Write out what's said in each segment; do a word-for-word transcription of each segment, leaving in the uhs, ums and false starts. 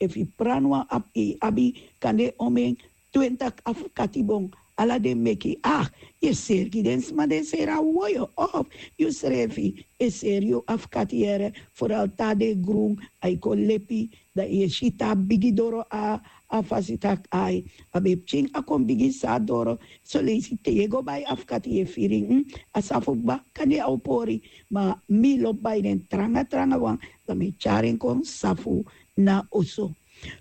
Efu yu pran wan abi yu abi kande omen twentik afkati bon. Ala den meki ah, yu e seri gi den sma den seri a woyo of yu srefi e seri yu afkati yere. Foral te a de grun a e kon lepi, dan yu e si te a bigi doro a a fasi tak' ai a ben pikin a kon bigi san a doro. Soleisi te yu e go bai afkati yu e firi en a safu kba kande a o pori. Ma mi lobi bai den tranga tranga wan, dan mi e tyari en kon safu na oso.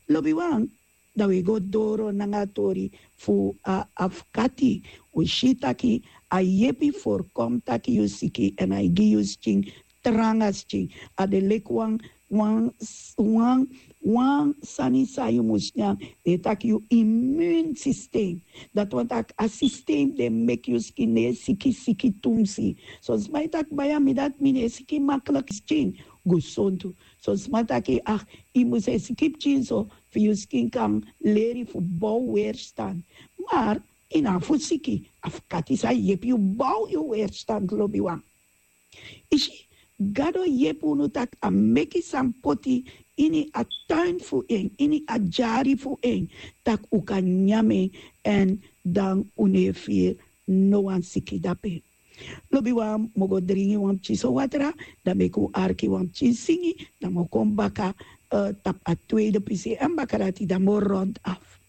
Lobiwan, dan wi e go doro nanga a tori fu a afkati. Wi si taki a yepi forkom taki yu siki èn a e gi yu skin tranga skin. A de leki wan wan wan wan sani san yu mus nyan. Den e taki yu imun sistem. Dati wani taki a sistem den meki yu skin no e siki siki tumsi. Son sma e taki baya mi dati mi no e siki makliki skin. Gesontu. Son sma taki ah, yu mus e siki pikin so fu yu skin kan leri fu bow weerstan. Mar yu no abi fu siki. Afkati sa yepi yu bow yu weerstan lobiwan. Isi, gado yepi unu tak' a meki san poti ini a tuin fu en, ini a dyari fu en, tak' un kan nyan en èn dan un no e firi no wan siki dape. Lobiwan, mi o go dringi wan pikin so watra, dan meki un arki wan pikin singi, dan mi o kon baka tapu a tweede pisi èn baka dati dan mi o rond af.